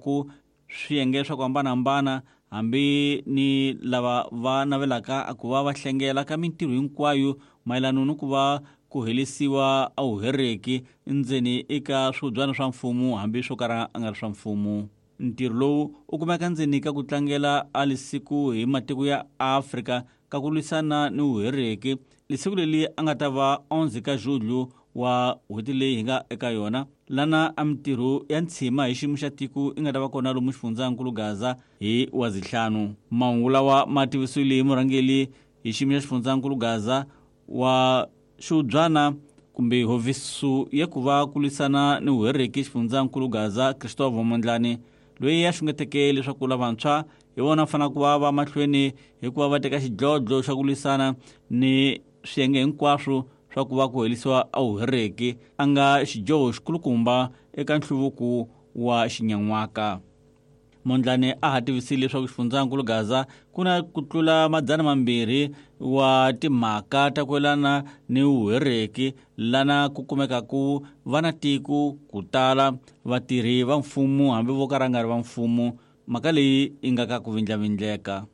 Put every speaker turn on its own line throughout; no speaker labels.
khumbaka swiyenge swa ku hambanahambana hambi ni lava va navelaka ku va va hlengela ka mintirho hinkwayo mayelana ni ku va ku helisiwa a wuhereki ndzeni eka swihubyana swa mfumo hambi swo kala a nga ri swa mfumo. Ntirho lowu u kumeka ndzeni ka ku tlangela a lisiku hi matiko ya Afrika ka ku lwisana ni vuhereki. Lisiku leli a nga ta va 11 ka Julho wa n'hweti leyi hi nga eka yona, lana a mintirho ya ntshima hi xiyimo xa tiko yi nga ta va kona lomu xifundzankulu Gaza hi Wazihlanu. Mahungu lawa ma tivisiwile hi murhangeli hi xiyimo xa xifundzankulu Gaza wa xihubyana kumbe hofisi ya ku va ku lwisana ni vuhereki xifundzankulu Gaza Christopher Mondlane, loyi a xungeteke leswaku lavantshwa hi vona va fanele ku va va mahlweni hi ku va va teka xidlodlo xa ku lwisana ni swiyenge hinkwaswo swa ku va ku helisiwa a vuhereki a nga xidyoho xikulukumba eka nhluvuko wa xinyan'waka. Mondlane a ha tivisile leswaku xifundzankulu Gaza ku na ku tlula 200 wa timhaka ta ku yelana ni vuhereki lana ku kumekaku va na tiko ku tala vatirhi va mfumo hambi vo ka ra nga ri va mfumo, mhaka leyi yi nga ka ku vindlavindleka.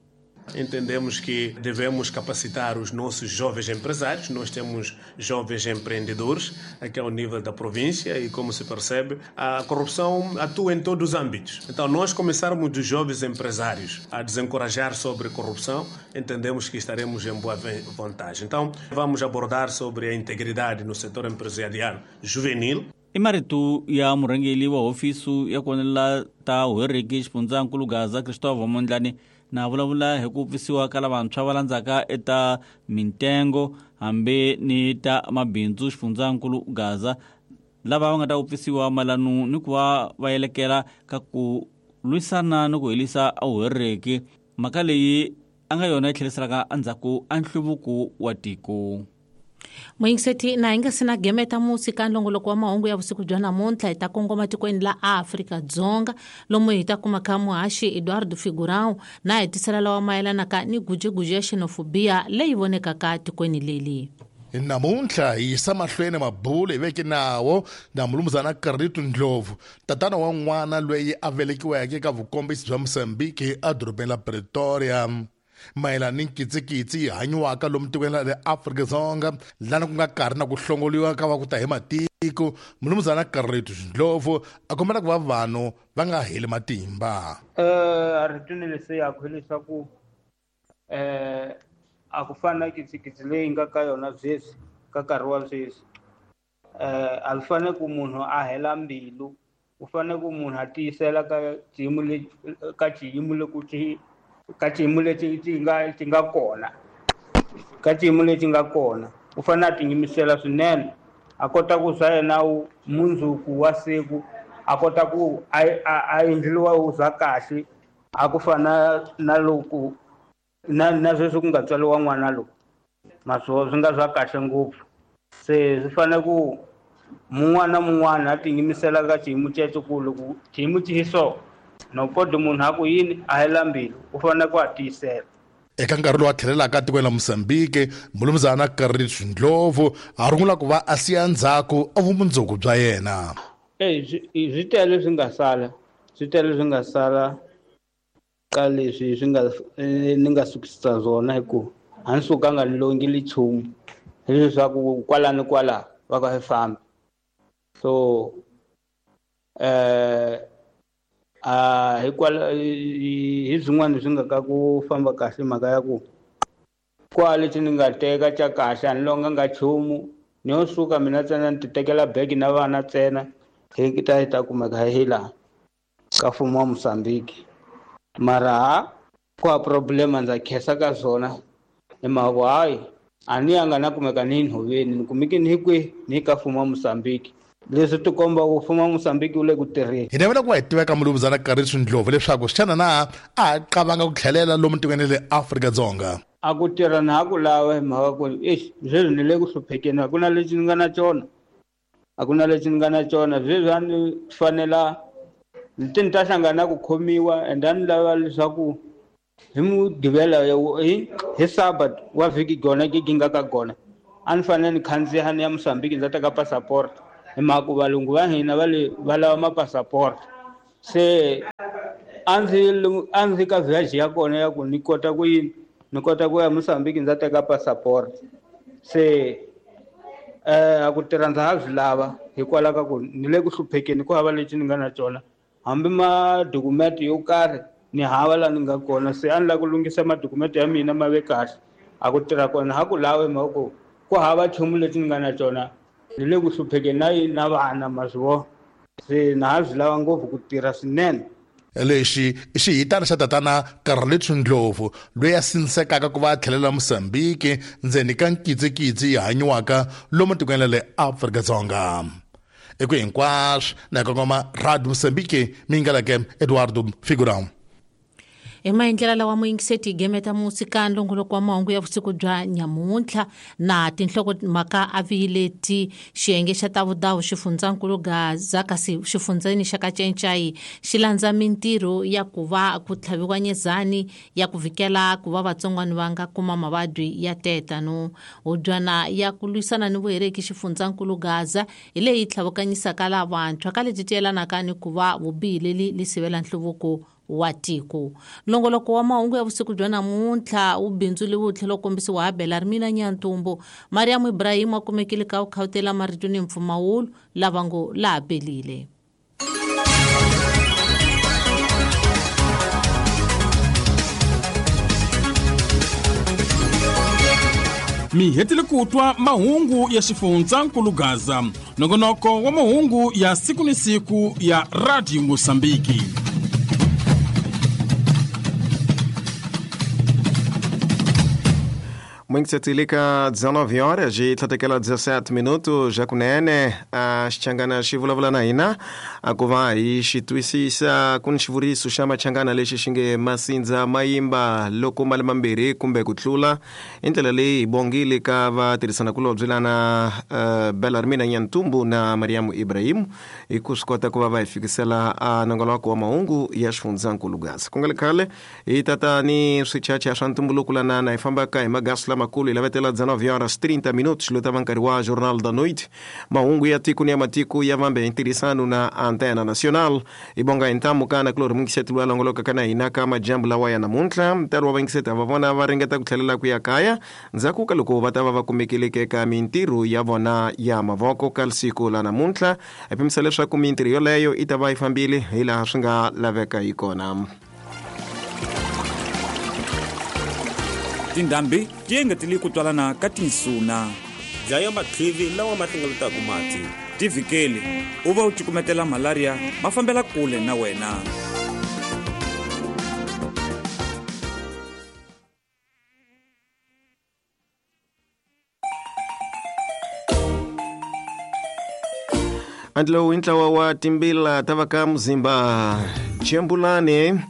Entendemos que devemos capacitar os nossos jovens empresários. Nós temos jovens empreendedores aqui ao nível da província e, como se percebe, a corrupção atua em todos os âmbitos. Então, nós começarmos dos jovens empresários a desencorajar sobre corrupção, entendemos que estaremos em boa vantagem. Então, vamos abordar sobre a integridade no setor empresarial juvenil.
I marito ya murhangeri wa hofisi ya ku vonela ta vuhereki xifundzankulu Gaza Christopher Mondlane na vulavula hi ku pfisiwa ka lavantshwa va landzaka eta mintengo hambi ni ta mabindzu xifundzankulu Gaza lava va nga ta vupfisiwa mayelana ni ku va va yelekela ka ku lwisana ni ku helisa vuhereki, mhaka leyi a nga yona yi tlheriselaka endzhaku a nhluvuko wa tiko.
Muyingiseti, na hi nga si na gemeta musi ka nlongoloko wa mahungu ya vusiku bya namuntlha, hi ta kongoma tikweni la Afrika-Dzonga lomu hi ta kuma ka muhaxi Eduardo Figurão na hi tisela lawa mayelanaka ni gujeguju ya xenofobia leyi vonekaka tikweni leli.
Namuntlha hi yisa mahlweni mabulo hi veke nawo na mulumuzana Carlito Ndlovu, tatana wa n'wana loyi a velekiweke eka vukombisi bya Mozambique edorobeni la Pretoria, mayelana ni nkitsikitsi yi hanyiwaka lomu tikweni ra le Afrika-Dzonga lana ku nga karhi na ku hlongoliwa ka va ku ta hi matiko. Mulumuzana Carlito Ndlovu a kombela ku va vanhu va nga heli matimba.
A ri twini yakwe leswaku a ku fani na kitsikitsi leyi nga ka yona sweswi ka nkarhi wa sweswi. A swi fanele ku munhu a hela mbilu, u fanele ku munhu a tiyisela ka xiyimo lexi ka xiyimo loko xi ka xiyimo lexi xi nga xi nga kona, ka xiyimo lexi nga kona u fanele a tiyimisela swinene, a kota ku swa yena mundzuku wa siku a kota ku a endliwa wu za kahle, a ku fana na loko na sweswi ku nga tswariwa n'wana lowu maswo swi nga swa kahle ngopfu. Se swi fanele ku mun'wana na mun'wana a tiyimisela ka xiyimo xexo, ku loko xiyimo xi hi so no koti munhu a ku yini a hela mbilu, u fanele ku a tiyisela.
Eka nkarhi lowu a tlhelelaka etikweni la Mozambique, mulumuzana Carlito Ndlovu a rungula ku va a siya ndzhaku a vumundzuku bya yena.
Eyi, swi tele swi nga sala, swi tele swi nga sala ka leswi swi nga ni nga sukisa swona, hi ku a ni sukanga ni longile nchumu, hileswaku kwala ni kwala va ka swi fambi. So a hikwala hi swin'wana swi nga ka ku famba kahle, mhaka ya ku kwala lexi ni nga teka xa kahle a ni longanga nchumu, ni yo suka mina ntsena ni ti tekela bege na vana ntsena hi ta hi ta kumeka hi laha ka mfumo wa Mozambique. Mara ha ku ha problema ndza khensa ka swona hi mhaka ku hayi a ni yanga na kumeka ni nhoveni, ni kumeke ni kwihi ni ka mfumo wa Mozambique. Leswi ti komba ku mfumo wa Mozambique wu le ku tirheni.
Hi navela ku va hi tiveka mulumuzana Carlito Ndlovu leswaku xana na a ha qavanga ku tlhelela lomu tikweni le Afrika-Dzonga.
A ku tirha na ha ku lava hi mhaka ku exi sweswi ni le ku hluphekeni, a ku na lexi ni nga na xona, a ku na lexi ni nga na xona. Sweswi a ni fanela ni ti ni ta hlangana na ku khomiwa, and a ni lava leswaku hi Mugqivela hi Sabbath wa vhiki gona gigi nga ka gona a ni fanele ni khandziya ni ya Mozambique ndza teka passport, hi mhaka ku valungu va hina va le va lava ma-passport. Se A ndzi ka village ya kona ya ku ni kota ku yini, ni kota ku ya Mozambique ndza teka passport. Se a ku tirha ndza ha swi lava hikwalaho ka ku ni le ku hluphekeni, ku hava lexi ni nga na xona, hambi madokumenti yo karhi ni hava laha ni nga kona. Se a ni lava ku lunghisa madokumenti ya mina ma ve kahle. A ku tirha kona ha ku lavi mhaka ku ku hava nchumu lexi ni nga na xona, ni le ku hluphekeni na yini na vana ma swi vona. Se na ha swi lava ngopfu ku tirha swinene.
Lexi i xihitana xa tatana Carlito Ndlovu loyi a sindzekaka ku va a tlhelela Mozambique ndzeni ka nkitsikitsi yi hanyiwaka lomu tikweni ra le Afrika-Dzonga. Eku hinkwaswo na kongoma Radio Mozambique mi yingaleke Eduardo Figurão.
Hi maendlela lawa muyingiseti hi gemeta musika nlongoloko wa mahungu ya vusiku bya nyamuntlha na tinhlokomhaka a viyileti xiyenge xa tavudawu xifundzankulu Gaza kasi xifundzeni xa Kacencayi xi landza mintirho ya ku va ku tlhaviwa nyezani ya ku vikela ku va vatsongwana va nga kuma mavabyi ya tetano. Hubyana ya ku lwisana ni vuhereki xifundzankulu Gaza hi leyi tlhavukanyisaka lavantshwa ka leti tiyelanaka ni ku va vubihi leli li sivela nhluvuko wa tiko. Nlongoloko wa mahungu ya vusiku bya namuntlha wu bindzuriwe wu tlhela wu kombisiwa ha Belarmina Nyantumbu. Mariam Ibrahim a kumekile ka vukhawutela marito ni mpfumawulo lava ngo laha pelile.
Mi hetile ku twa mahungu ya xifundzankulu Gaza, nongonoko wa mahungu ya siku ni siku ya Radio Mozambique.
Mwingisetilika 19 horas e tlhatekela 17 minutos ja kunene a xichangana xi vulavula na hina a ku va hi xi twisisa ku ni xivuriso xa machangana lexi xi nge masindza mayimba loko mali mambirhi kumbe ku tlula. Hi ndlela leyi hi bongile ka vatirhisanakulobye lana Belarmina Nyantumbu na Mariam Ibrahim hi ku swi kota ku va va hi fikisela a nongonoko wa mahungu ya xifundzankulu Gaza. Ku nga le khale hi tata ni swichacha swa ntumbuluko lana na hi fambaka hi magasi lamakulu hi lavetela 19 horas 30 minutos lota va nkarhi wa Jornal da Noite, mahungu ya tiko ni ya matiko ya vambe hi ntirhisano na Antena Nacional. Hi bonga hi ntamu ka na kulori mungiseti loyi a longolokaka na hina ka majambu lawa ya namuntlha. Ntalo wa vayingiseti va vona va ringeta ku tlhelela ku ya kaya ndzhaku ka loko va ta va va kumekileke ka mintirho ya vona ya mavoko ka siku la namuntlha. Hi pimisa leswaku mintirho yoleyo yi ta va yi fambile hi laha swi nga laveka hi kona.
Tindhambi ti engetele ku twalana ka tinsuna.
Dlaya matlhivi lawa ma hlengeletaka mati.
Tivhikeli u va u cukumetela malaria ma fambela kule na wena.
Andlo i ntlawa wa timbila ta va ka Muzimba Chembulani.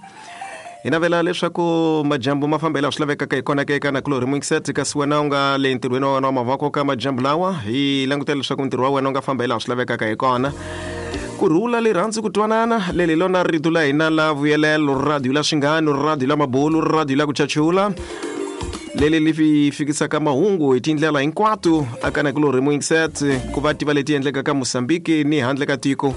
Hi navela leswaku majambu ma fambela swi lavekaka hi kona ke eka nakulorhi Mwingiseti, kasi wena u nga le ntirhweni wa wena wa mavoko ka majambu lawa hi langutela leswaku ntirho wa wena u nga famba hi laha swi lavekaka hi kona. Ku rhula, rirhandzu, ku twanana, leli lona rito la hina la vuyelelo, radio la xinghano, radio la mabulu, radio la ku chachula, leli li fikisaka mahungu hi tindlela hinkwato aka nakulorhi Mwingiseti ku va tiva leti endlekaka Mozambique ni handle ka tiko.